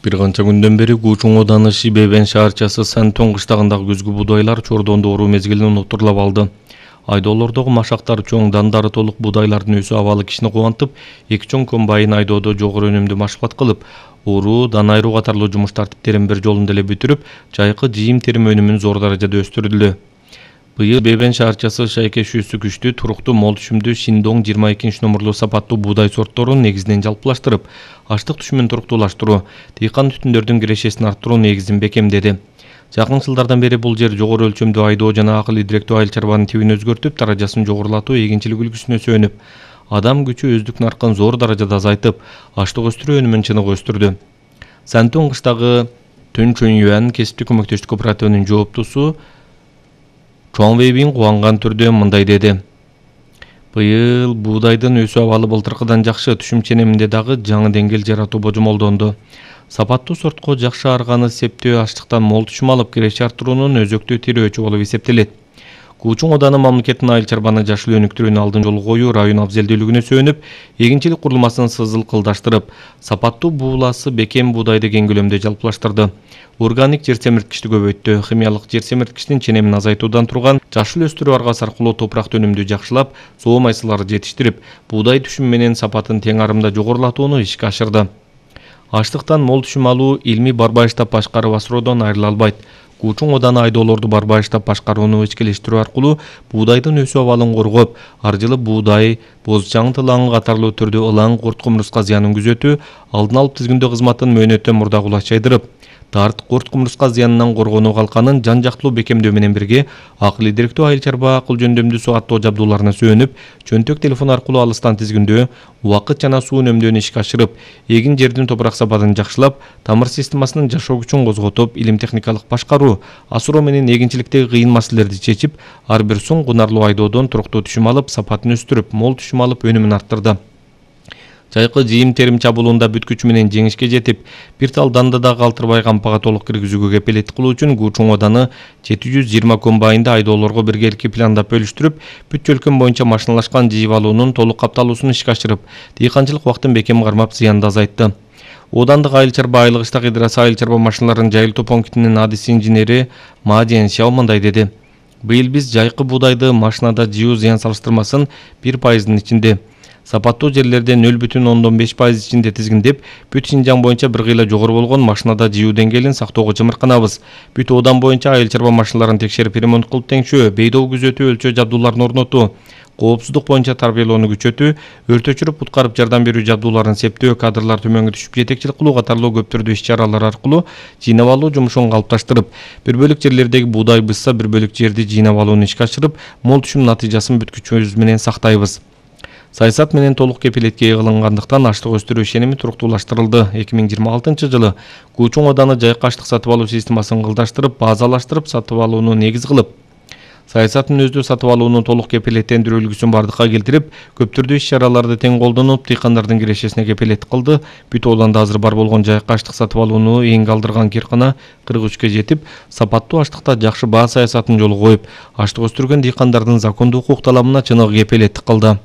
Бир канча күндөн бери Кучуң ооданы Шибебен шаарчасы Сантон кыштагындагы күзгү будайлар чордондо оруу мезгилин уnuttурлап алды. Айдоолордогу машактар чоң, дандары толук будайлардын өсүү абалы кишини кубантып, эки чоң комбайн айдоодо жогору өнүмдүү машкулат кылып, уруу, дан айыруу катарлуу жумуш тартиптерин бир жолунда эле бүтүрүп, жайкы жыйым терим өнүмүн зор даражада өстүрдү. Быйыл Бебен шаарчасы шайкешүүсү күчтүү, туруктуу, мол түшүмдүү Шиндоң 22 номерлуу сапаттуу буудай сортторун негизинен жалпылаштырып, аштык түшүмүн туруктуулаштыруу, дыйкан түтүндөрдүн кирешесин арттыруу негизин бекемдеди. Жакын жылдардан бери бул жер жогору өлчөмдүү айдоо жана акыл идиректүү айыл чарбанын тибин өзгөртүп, даражасын жогорулатуу эгинчилик үлгүсүнө сөөнүп, адам күчү өздүк наркын зор даражада азайтып, аштык өстүрүү өнүмүн чыныгы өстүрдү. Сантон кыштагы Төн Чөнюан кесиптик көмөктөштүк кооперативинин жооптусу Чоң Вейбин кубанган түрдө мындай деди. Быйыл буудайдын өсүү абалы былтыркыдан жакшы, түшүм ченеминде дагы жаңы деңгээл жаратуу божомолдонду. Сапаттуу сортко жакшы арганы септөө аштыктан мол түшүм алып, киреше арттыруунун өзөктүү тирөөчү болуп эсептелет. Кучуң ооданы мамлекеттин айыл чарбаны жашыл өнүктүрүүнүн алдын жолу коюу, район абзелдүүлүгүнө сөөнүп, эгинчилик курулмасын сызылкылдаштырып, сапаттуу бууласы бекем буудайды кең көлөмдө жалпылаштырды. Органик жер семирткичти көбөйттү, химиялык жер семирткичтин ченемин азайтуудан турган жашыл өстүрүү аргасы аркылуу топуракты өнүмдүү жакшылап, соо майсыларды жетиштирип, буудай түшүмү менен сапатын тең арымда жогорулатууну ишке ашырды. Аштыктан мол түшүм алуу илмий барбайыштап башкарып асыроодон айрыла албайт. Кучуң ооданы айдоолорду барбайыштап башкарууну ичкилештирүү аркылуу буудайдын өсүү абалын коргоп, ар жылы буудай, боз чаң тылаңы катарлуу түрдө ылаң курт кумурска зыянын күзөтүү, алдын алып тизгиндөө кызматын мөөнөттөн мурда кулач жайдырып, тарт курт кумурска зыянынан коргонуу калканын жан жактылуу бекемдөө менен бирге, акыл идиректүү айыл чарба акыл жөндөмдүү суу каттоо жабдууларына сөөнүп, чөнтөк телефон аркылуу алыстан тизгиндөө, убакыт жана суу үнөмдөөнү ишке ашырып, эгин жердин топурак сапатын жакшылап, тамыр системасынын жашоо күчүн козготуп, илим техникалык башкаруу, асыроо менен эгинчиликтеги кыйын маселелерди чечип, ар бир соң кунарлуу айдоодон туруктуу түшүм алып, сапатын өстүрүп, мол түшүм алып, өнүмүн арттырды. Жайкы жыйым терим чабуулунда бүткүч менен жеңишке жетип, бир тал данды да калтырбай кампага толук киргизүүгө кепилеттик кылуу үчүн Кучуң ооданы 720 комбайнды айдоолорго биргеликки пландап бөлүштүрүп, бүт чөлкөм боюнча машиналашкан жыйып алуунун толук капталуусун ишке ашырып, дыйканчылык убактын бекем кармап, зыянды азайтты. Оодандык айыл чарба айлык иштак идарасы айыл чарба машиналарынын жайылтуу пунктинин адис инженери Ма Жиэнсяо мындай деди. Быйыл биз жайкы буудайды машинада жыуу зыян салыштырмасын 1%-дын ичинде, сапаттуу жерлерде 0,5% ичинде тизгиндеп, бүт Шинжаң боюнча бир кыйла жогору болгон машинада жыуу деңгээлин сактоого чымырканабыз. Бүт оодан боюнча айыл чарба машиналарын текшерип, ремонт кылып теңшөө, бейдоо күзөтүү, өлчөө жабдууларын орнотуу, коопсуздук боюнча тарбиялоону күчөтүү, өрт өчүрүп куткарып жардам берүү жабдууларын септөө, кадрлар төмөнгө түшүп жетекчилик кылуу катарлуу көп түрдүү иш-чаралар аркылуу жыйнап алуу жумушун калыпташтырып, бир бөлүк жерлердеги буудай бызса, бир бөлүк жерди жыйнап алууну ишке ашырып, мол түшүм натыйжасын бүткүчүбүз менен сактайбыз. Саясат менен толук кепилетке кылынгандыктан аштык өстүрүү ишеними туруктуулаштырылды. 2026 жылы Кучуң ооданы жайкы аштык сатып алуу системасын кылдаштырып, базалаштырып сатып алууну негиз кылып, саясатын өздөө сатып алуунун толук кепилеттендирүү үлгүсүн бардыкка келтирип, көп түрдүү иш-чараларды тең колдонуп, дыйкандардын кирешесине кепилеттик кылды. Бүт ооданда азыр бар болгон жайкы аштык сатып алууну эң калдырган кыйркына 43-кө жетип, сапаттуу аштыкта жакшы баа саясатын жолго коюп, аштык өстүргөн дыйкандардын закондуу укук талабына чыныгы кепилеттик кылды.